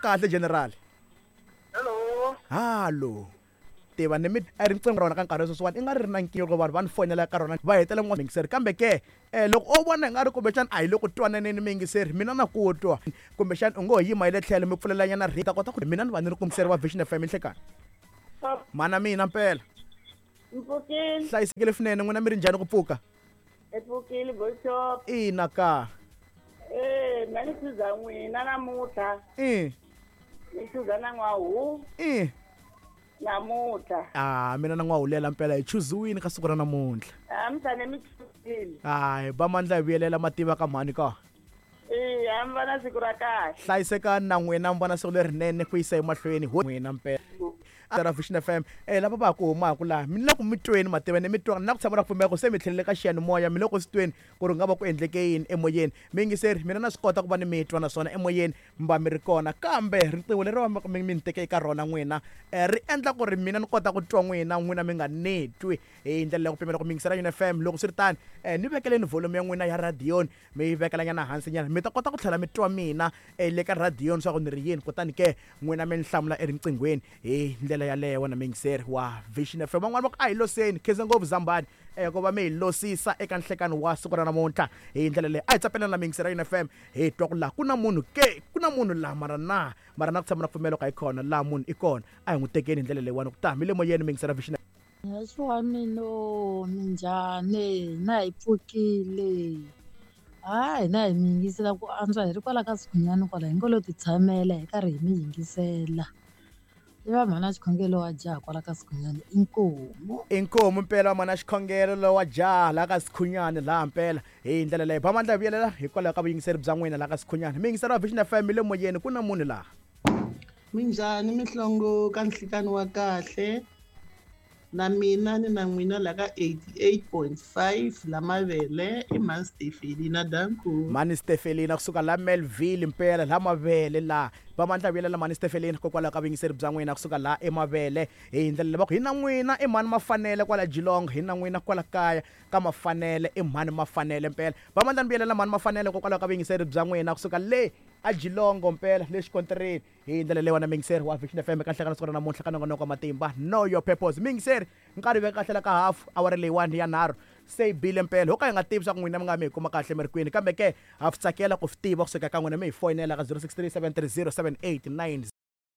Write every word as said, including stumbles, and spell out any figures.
kahle general. Hello. Hallo. Tiva ni mi a riqingho ra wena ka nkarhi sweswiwani i nga ri ri na nkingha loko vanhu va ni fonela ka rona va hetelela muyingiseri kambe ke um loko o vona i nga ri kumbexana a hi le ku twananeni muyingiseri mina na ku twa kumbexana u ngo ho yima hi le tlhelo mi pfulelanyana ri ta kota ku mina ni va ni ri kumiseri wa Vision F M nhlekani mana mina mpela mpfukile hlayisekile swinene n'wina mi ri njhani ku pfuka hi pfukile boshop ina ka eh mina ni chuza n'wina namuntlha i ni chuza na n'wahu i namuntlha ah mina na n'wahulela mpela hi chuziwini ka siku ra namuntlha a mi tshane mi chuzile hayi ba mandla hi vuyelela mativa ka mhani ka e a mi va na siku ra kahle hlayisekani na n'wina mi vona siku lerinene ku yisa emahlweni ho n'wina mpela ra Vision F M eh lava va ha ku humaka laha mi le ku mi tweni mativa ni mi twa na ku tshama ra pfumela ku se mi tlhelele ka xiyanimoya mi le ku swi tweni ku ri nga va ku endleke yini emoyeni miyingiseri mina na swi kota ku va ni mi twa naswona emoyeni mi va mi ri kona kambe riqingho leri va mi mi ni teke eka rona n'wina um ri endla ku ri mina ni kota ku twa n'wina n'wina mi nga ni twi hi ndlela ya ku pimela ku miyingisela Yuni F M loko swi ri tani um ni vekeleni volume ya n'wina ya radiyoni mi yi vekelanyana hansi nyana mi ta kota ku tlhela mi twa mina um le ka radiyoni swa ku ni ri yini kutani ke n'wina mi ni hlamula eriqinghweni hi ndlela yaleyo wena muyingiseri wa Vision F M van'wani va ku a hi loseni khensa ngopfu zambani um ku va mi hi losisa eka nhlekani wa siku ra namuntlha hi ndlela leyi a hi tsapelana na muyingiseri ya Yuni F M hi twa ku laha ku na munhu ke ku na munhu laha mara na mara na ku tshama na pfumelo ka hi kona laha munhu i kona a hi n'wi tekeni hi ndlela leyiwani ku ta mi le moyeni muyingiseri wa Vision. Yesu wa mina minjhani na hi pfukile hayi hina hi mi yingisela ku antswa hi ri kwala ka Sikhunyani kwala hi ngo lo ti tshamela hi karhi hi mi yingisela i va mhana xikhongelo wa jaha kwala ka Sikhunyani inkomu inkomu mpela wa mhana xikhongelo lowa jaha laha ka Sikhunyani laha mpela hi ndlela leyi ba mandla hi vuyelela hikwalaho ka vuyingiseri bya n'wina laha ka Sikhunyani miyingiseri wa Vision F M mi le moyeni ku na munhu laha minjhani mihlongo ka nhlikani wa kahle na mina ni na n'wina la ka eighty-eight point five la mavele i mhani Stefelina danku mhani Stefelina kusuka la Melville mpela la mavele laha va mandla vuyelela mhani Stefelina hikokwalaho ka vuyingiseri bya n'wina kusuka laha emavele hi ndlela leyi va ku hi na n'wina i mhani Mafanele kwala Geelong hi na n'wina kwala kaya ka Mafanele i mhani Mafanele mpela va mandla ni vuyelela mhani Mafanele hikokwalaho ka vuyingiseri bya n'wina kusuka le a Geelong mpela le xikontirini hi ndlela leyi wena muyingiseri wa Vision F M eka nhlekani siku ra namuntlha ka nongonoko wa matimba know your purpose muyingiseri nkarhi veka kahle la ka hafu awara leyiwani ya nharhu se yi bile mpela ho ka hi nga tivi swa ku n'wina mi nga mi hi kuma kahle mi ri kwini kambe ke ha swi tsakela ku swi tiva kusuka ka n'wina mi hi foyinela ka zero six three seven three zero seven eight nine